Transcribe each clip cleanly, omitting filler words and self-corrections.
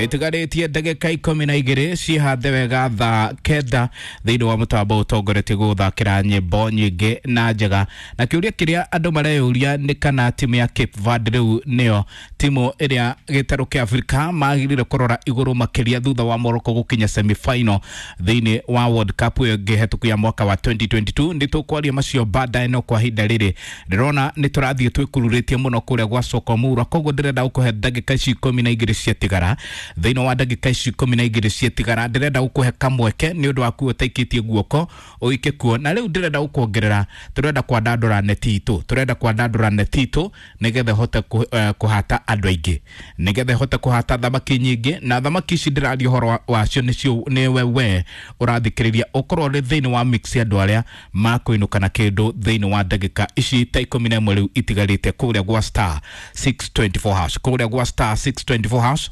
Itigarĩtie ndagĩka 12 cihathe wega thaa 9 thĩinĩ wa mũtambo ũtongoretie gũthakĩra nyĩmbo nyingĩ na njega. Na kĩũria kĩrĩa andũ mareyũria nĩ kana timu ya Cape Verde rĩu nĩyo timu ĩrĩa gĩtarũ kĩa Afrika magĩrĩire kũrora igũrũ makĩria thutha wa Morocco gũkinya semi-final thĩinĩ wa World Cup ĩyo ĩngĩ hetũku ya mwaka wa 2022. Nĩ tũkwaria macio baadaye, no kwa ihinda rĩrĩ ndĩrona nĩ tũrathiĩ twĩkururĩtie mũno kũrĩa gwa Sokomura, koguo ndĩrenda gũkũhe ndagĩka ici 12 ciatigara. Thĩinĩ wa ndagĩka ici 12 ciatigara ndĩrenda gũkũhe kamweke nĩ ũndũ waku ũtaikĩtie guoko ũike kuo. Na rĩu ndĩrenda gũkuongerera, tũrenda kwandandũra neti itũ, tũrenda kwandandũra neti itũ nĩgetha ĩhote kũhata andũ aingĩ, nĩgetha ĩhote kũhata thamaki nyingĩ. Na thamaki ici ndĩraria ũhoro wacio nĩcio nĩwe we ũrathikĩrĩria, ũkorwo ũrĩ thĩinĩ wa mix ya andũ arĩa makũinũka na kĩndũ thĩinĩ wa ndagĩka ici ta 11 rĩu itigarĩte kũrĩa gwa star 624 hash, kũrĩa gwa star 624 hash,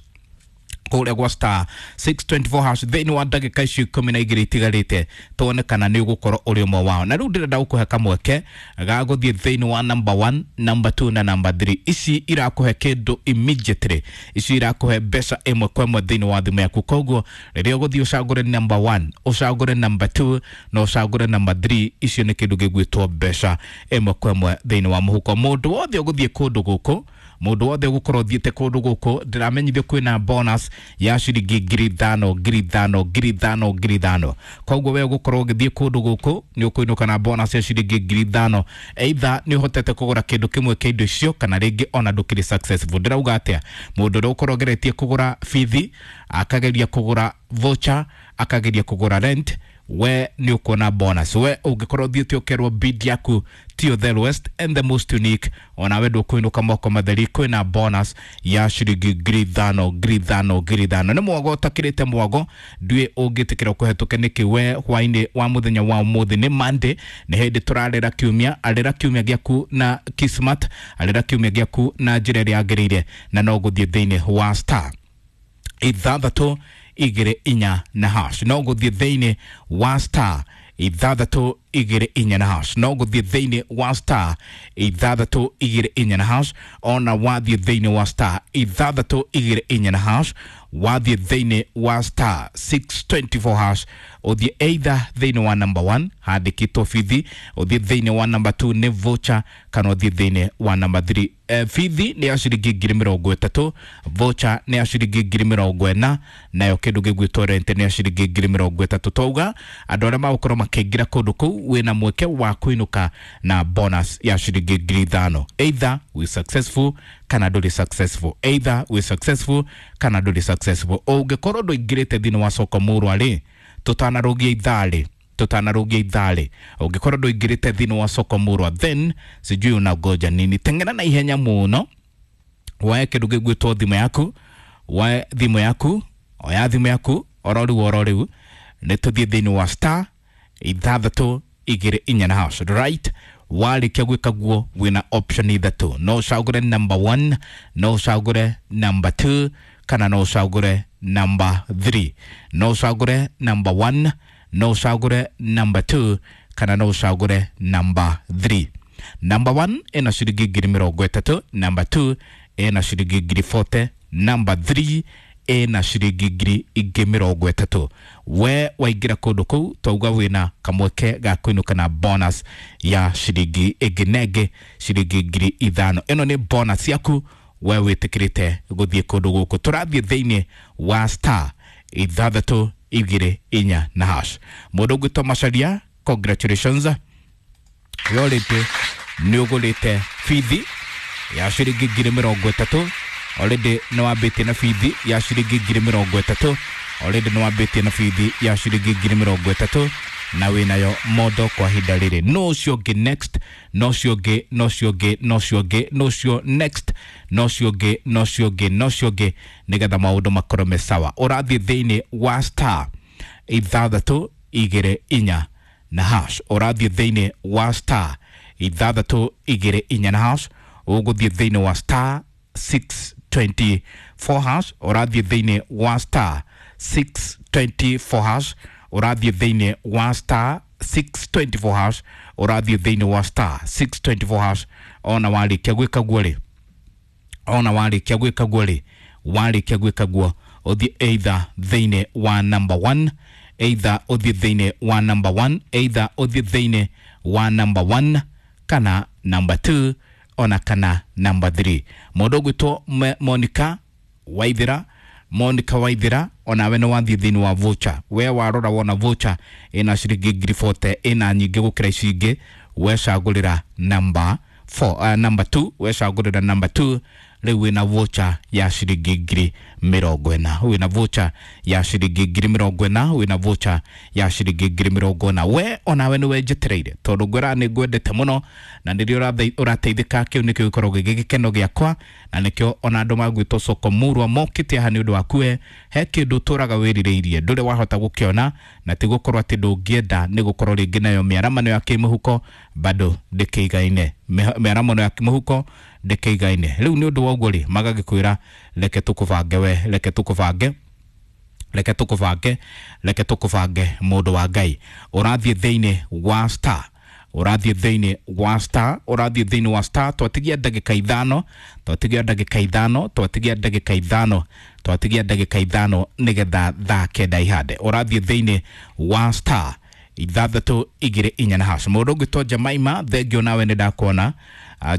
kũrĩa gwa star 624 hash thĩinĩ wa ndagĩka icio 12 itigarĩte, tuone kana nĩ ũgũkorwo ũrĩ ũmwe wao. Na rĩu ndĩrenda gũkũhe kamweke ga gũthiĩ thĩinĩ wa number 1, number 2 na number 3. Ici irakũhe kĩndũ immediately, ici irakũhe mbeca ĩmwe kwa ĩmwe thĩinĩ wa thimũ yaku. Koguo rĩrĩa ũgũthiĩ ũcagũre number 1, ũcagũre number 2 na ũcagũre number 3, icio nĩ kĩndũ gĩgwĩtwo mbeca ĩmwe kwa ĩmwe thĩinĩ wa mũhuko. Mũndũ wothe ũgũthiĩ kũndũ gũkũ, mũndũ wothe ũgũkorwo ũthiĩte kũndũ gũkũ, ndĩramenyithio kwĩna bonus ya ciringi 5,000 5,000 5,000 5,000. Koguo we ũgũkorwo ũgĩthiĩ kũndũ gũkũ nĩ ũkũinũka na bonus ya ciringi 5,000, either nĩ ũhotete kũgũra kĩndũ kĩmwe kĩa indo icio kana rĩngĩ ona ndũkĩrĩ successful. Ndĩrauga atĩa? Mũndũ ũrĩa ũkorwo ũgeretie kũgũra bithi, akageria kũgũra voucher, akageria kũgũra rent, we nĩ ũkuona bonus. We ũngĩkorwo ũthiĩte ũkerwo bid yaku tiyo the lowest and the most unique, onawe ndũkũinũka moko matheri, kwĩna bonus ya ciringi 5,000 5,000 5,000. Nĩ mwago ũtakĩrĩte mwago, nduĩ ũngĩtĩkĩra kũhetũke nĩkĩ we hwainĩ wa mũthenya wa ũmũthĩ. Nĩ Monday, nĩ hĩndĩ tũrarĩra kiumia. Arĩra kiumia gĩaku na Kismat, arĩra kiumia gĩaku na njĩra ĩrĩa yagĩrĩire, na no gũthiĩ thĩinĩ wa star 6 2 4 na hash, no gũthiĩ thĩinĩ wa star 6 2 4 na hash, no gũthiĩ thĩinĩ wa star 6 2 4 na hash. Ona wathiĩ thĩinĩ wa star 6 2 4 na hash, wathiĩ thĩinĩ wa star 624 hash, ũthiĩ either thĩinĩ wa number 1 handĩkĩtwo bithi, ũthiĩ thĩinĩ wa number 2 nĩ voucher, kana ũthiĩ thĩinĩ wa number 3. Bithi nĩ ya ciringi 30,000, voucher nĩ ya ciringi 40,000, nayo kĩndũ gĩgwĩtwo rent nĩ ya ciringi 30,000. Twauga andũ arĩa magũkorwo makĩingĩra kũndũ kũu wĩna mweke wa kũinũka na bonus ya ciringi 5,000, either we successful kana ndũrĩ successful, either we successful kana ndũrĩ successful. Ũngĩkorwo ndũingĩrĩte thĩinĩ wa soko mũrwa rĩ, tũtanarũgia ithaa rĩ, tũtanarũgia ithaa rĩ, ũngĩkorwo ndũingĩrĩte thĩinĩ wa soko mũrwa, then sijui unangoja nini. Teng'era na ihenya mũno, woe kĩndũ gĩgwĩtwo thimũ yaku, woe thimũ yaku, oya thimũ yaku oro rĩu oro rĩu, nĩ tũthiĩ thĩinĩ wa star 6 2 4 na hash. Right, warĩkia gwĩka guo wĩna option ithatũ, no ũcagũre number 1, no ũcagũre number 2, kana no ũcagũre number 3. No ũcagũre number 1, no ũcagũre number 2, kana no ũcagũre number 3. Number 1 ĩna ciringi 30,000, number 2 ĩna ciringi 40,000, number 3 ĩna ciringi 30,000. We waingĩra kũndũ kũu twauga wĩna kamweke ga kũinũka na bonus ya ciringi ĩngĩ na ĩngĩ ciringi 5,000. Ĩno nĩ bonus yaku we wĩtĩkĩrĩte gũthiĩ kũndũ gũkũ. Tũrathiĩ thĩinĩ wa star 6 2 4 na hash. Mũndũ ũgwĩtwo Macharia, congratulations, yorĩte nĩ ũgũrĩte bithi ya ciringi 30,000. Already nĩ wambĩtie na bithi ya ciringi 30,000, already nĩ wambĩtie na bithi ya ciringi 30,000, na wĩnayo mondo kwa ihinda rĩrĩ. No ũcio ũngĩ next, no ũcio ũngĩ, no ũcio ũngĩ, no ũcio ũngĩ, no ũcio next, no ũcio ũngĩ, no ũcio ũngĩ, no ũcio ũngĩ, nĩgetha maũndũ makorwo me sawa. Ũrathiĩ thĩinĩ wa star 6 2 4 na hash, ũrathiĩ thĩinĩ wa star 6 2 4 na hash, ũgũthiĩ thĩinĩ wa star 624 hash, ũrathiĩ thĩinĩ wa star 624 hash, ũrathiĩ thĩinĩ wa star 624 hash, ũrathiĩ thĩinĩ wa star 624 hash. Ona warĩkia gwĩka guo rĩ, ona warĩkia gwĩka guo rĩ, warĩkia gwĩka guo Ũthiĩ either thĩinĩ wa number 1, either ũthiĩ thĩinĩ wa number 1, either ũthiĩ thĩinĩ wa number 1 kana number 2 ona kana number 3. Mũndũ ũgwĩtwo Monica Waithera, Monica Waithera, onawe nĩ wathiĩ thĩinĩ wa voucher. We warora wona voucher ĩna ciringi 40,000, ĩna nyingĩ gũkĩra ici ingĩ, wecagũrĩra number 4, number 2, wecagũrĩra number 2. Rĩu wĩna voucher ya ciringi 40,000, wĩna voucher ya ciringi 40,000, wĩna voucher ya ciringi 40,000. We onawe nĩwe njetereire tondũ ngwĩra nĩ ngwendete mũno na nĩrĩo ũrateithĩka. Kĩu nĩkĩo gĩkoragwo gĩ gĩkeno gĩakwa na nĩkĩo ona andũ magwĩtwo soko murwa mokĩte haha nĩ ũndũ waku. We he kĩndũ ũtũraga wĩrirĩirie ndũrĩ wahota gũkĩona, na ti gũkorwo atĩ ndũngĩenda, nĩ gũkorwo rĩngĩ nayo mĩaramano ya kĩmũhuko bado ndĩkĩigaine, mĩaramano ya kĩmũhuko ndĩkĩigaine. Rĩu nĩ ũndũ wa ũguo rĩ, magagĩkwĩra reke tũkũbange, we reke tũkũbange, reke tũkũbange, reke tũkũbange. Mũndũ wa Ngai, ũrathiĩ thĩinĩ wa star, ũrathiĩ thĩinĩ wa star, ũrathiĩ thĩinĩ wa star. Twatigia ndagĩka 5, twatigia ndagĩka 5, twatigia ndagĩka 5, twatigia ndagĩka 5 nĩgetha thaa 9 ihande. Ũrathiĩ thĩinĩ wa star 6 2 4 na hash. Mũndũ ũngĩtwo Jamaima, thengio nawe nĩ ndakuona.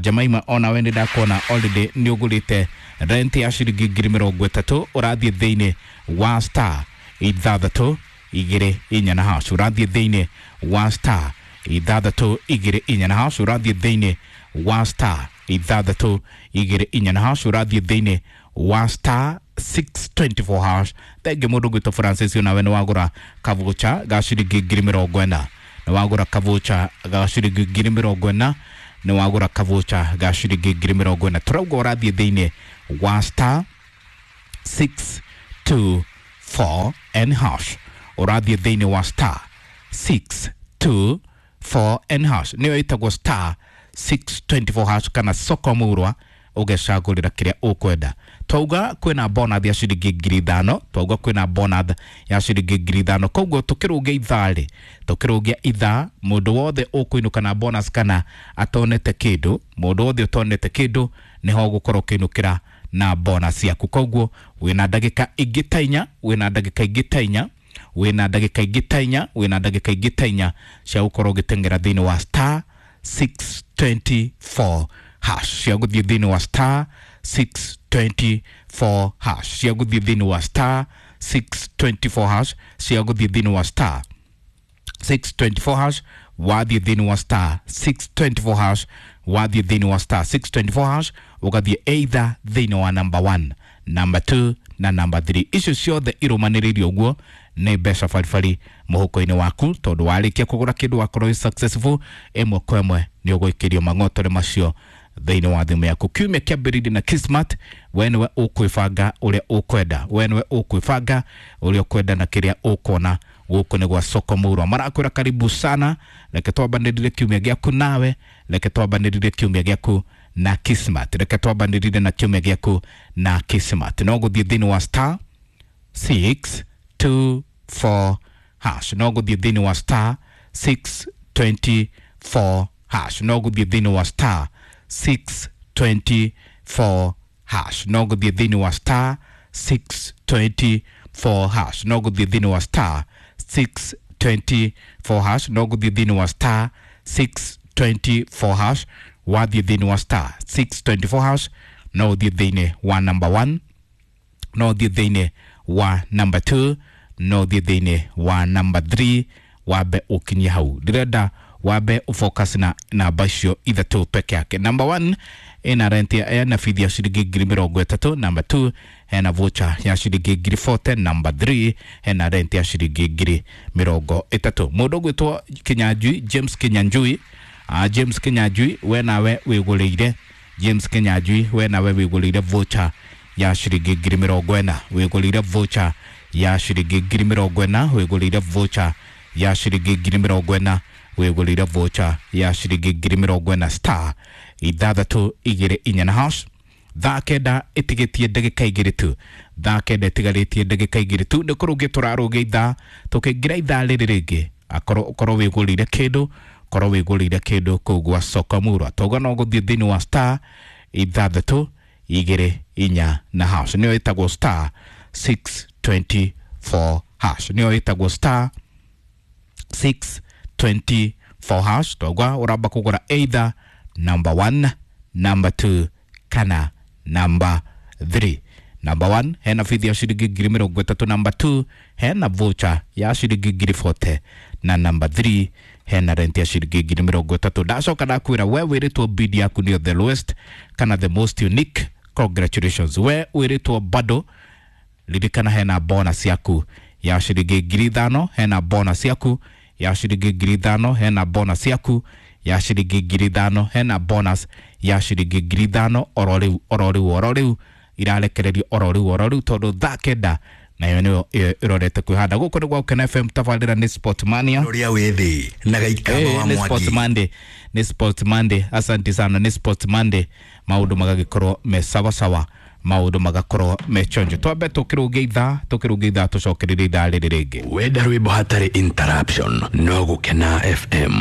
Jamaima, onawe nĩ ndakuona already nĩ ũgũrĩte rent ya ciringi 30,000. Ũrathiĩ thĩinĩ wa star 6 2 4 na hash. Ũrathiĩ thĩinĩ wa star 6 2 4 na hash. Ũrathiĩ thĩinĩ wa star 6 2 4 na hash. Ũrathiĩ thĩinĩ wa star 624 hash. Thengi mũndũ gwĩtwo Francis, onawe nĩ wagũra kavucha ga ciringi 40,000, nĩ wagũra kavucha ga ciringi 40,000, nĩ wagũra kavucha ga ciringi 40,000. Tũrauga ũrathiĩ thĩinĩ wa star 624 and hash. Ũrathiĩ thĩinĩ wa star 624 and hash, nĩyo ĩtagwo star 624 hash kana soko murwa, ũgecagũrĩra kĩrĩa ũkwenda. Twauga kwĩna bonus ya ciringi 5,000, twauga kwĩna bonus ya ciringi 5,000. Koguo tũkĩrũgia ithaa rĩ, tũkĩrũgia ithaa, mũndũ wothe ũkũinũka na bonus kana atonete kĩndũ, mũndũ wothe ũtonete kĩndũ nĩho ũgũkorwo ũkĩinũkĩra na bonus yaku. Koguo wĩna ndagĩka ingĩ ta 4, wĩna ndagĩka ingĩ ta 4, wĩna ndagĩka ingĩ ta 4, wĩna ndagĩka ingĩ ta 4 cia gũkorwo ũgĩteng'era thĩinĩ wa star 624 hash, cia gũthiĩ thĩinĩ wa star 624 hash, cia gũthiĩ thĩinĩ wa star 624 hash, cia gũthiĩ thĩinĩ wa star 624 hash. Wathiĩ thĩinĩ wa star 624 hash, wathiĩ thĩinĩ wa star 624 hash, ũgathiĩ either thĩinĩ wa number 1, number 2 na number 3. Icio ciothe irũmanĩrĩirie ũguo nĩ mbeca baribari mũhuko-inĩ waku, tondũ warĩkia kũgũra kĩndũ wakorwo wĩ successful, ĩmwe kwa ĩmwe nĩ ũgũikĩrio mang'otore macio thĩinĩ wa thimũ yaku. Kiumia kĩambĩrĩirie na Kismat. We nĩwe ũkwĩbanga ũrĩa ũkwenda, we nĩwe ũkwĩbanga ũrĩa ũkwenda na kĩrĩa ũkuona. Gũkũ nĩ gwa soko murwa, marakwĩra karibu sana. Reke twambanĩrĩrie kiumia gĩaku nawe, reke twambanĩrĩrie kiumia gĩaku na Kismat, reke twambanĩrĩrie na kiumia gĩaku na Kismat. No gũthiĩ thĩinĩ wa star 624 hash, no gũthiĩ thĩinĩ wa star 624 hash, no gũthiĩ thĩinĩ wa star 624 hash, no gũthiĩ thĩinĩ wa star 624 hash, no gũthiĩ thĩinĩ wa star 624 hash, no gũthiĩ thĩinĩ wa star 624 hash. Wathiĩ thĩinĩ wa star 624 hash, no ũthiĩ thĩinĩ wa number 1, no ũthiĩ thĩinĩ wa number 2, no ũthiĩ thĩinĩ wa number 3. Wambe ũkinyie hau, ndĩrenda wambe ũfocus na namba icio ithatũ peke yake. Number 1 ĩna rent ena bithi ya ciringi 30,000, number 2 hena voucher ya ciringi 40,000, number 3 hena rent ya ciringi 30,000. Mũndũ ũgwĩtwo Kinyanjui, James Kinyanjui, James Kinyanjui, we nawe wĩgũrĩire, James Kinyanjui, we nawe wĩgũrĩire voucher ya ciringi 40,000, wĩgũrĩire voucher ya ciringi 40,000, wĩgũrĩire voucher ya ciringi 40,000, wĩgũrĩire voucher ya ciringi 40,000. Star 6 2 4 na hash. Thaa 9 ĩtigĩtie ndagĩka 2 tu, thaa 9 ĩtigarĩtie ndagĩka 2 tu, nĩ kũrũgia tũrarũgia ithaa, tũkĩingĩra ithaa rĩrĩ rĩngĩ akorwo ũkorwo wĩgũrĩire kĩndũ, korwo wĩgũrĩire kĩndũ kũu gwa soko murwa. Twauga no gũthiĩ thĩinĩ wa star 6 2 4 na hash, nĩyo ĩtagwo star 624 hash, nĩyo ĩtagwo star 624 hash. Twauga ũramba kũgũra either number 1, number 2 kana number 3. Number 1 hena bithi ya ciringi 30,000, number 2 hena voucher ya ciringi 40,000 na number 3 hena rent ya ciringi 30,000. Ndacoka ndakwĩra we wĩrĩtwo bid yaku nĩyo the lowest kana the most unique, congratulations. We wĩrĩtwo bado ririkana hena bonus yaku ya ciringi 5,000, hena bonus yaku ya ciringi 5,000, hena bonus yaku ya ciringi 5,000, hena bonus ya ciringi 5,000 oro rĩu oro rĩu oro rĩu irarekererio oro rĩu oro rĩu tondũ thaa 9 nayo nĩyo ĩrorete kwĩhanda. Gũkũ nĩ gwa Gũkena FM, tabarĩra nĩ Sport Mania. Ũrĩa wĩ thĩ na gaikama wa Nĩ Sport Mwangi. Monday, nĩ Sport Monday. Asante sana, nĩ Sport Monday. Maũndũ magagĩkorwo me sawasawa, maũndũ magakorwo me chonjo. Twambe tũkĩrũnge ithaa, tũkĩrũnge ithaa, tũcokererie ithaa rĩrĩ rĩngĩ. Wenda rwĩmbo hatarĩ interruption no Gũkena FM.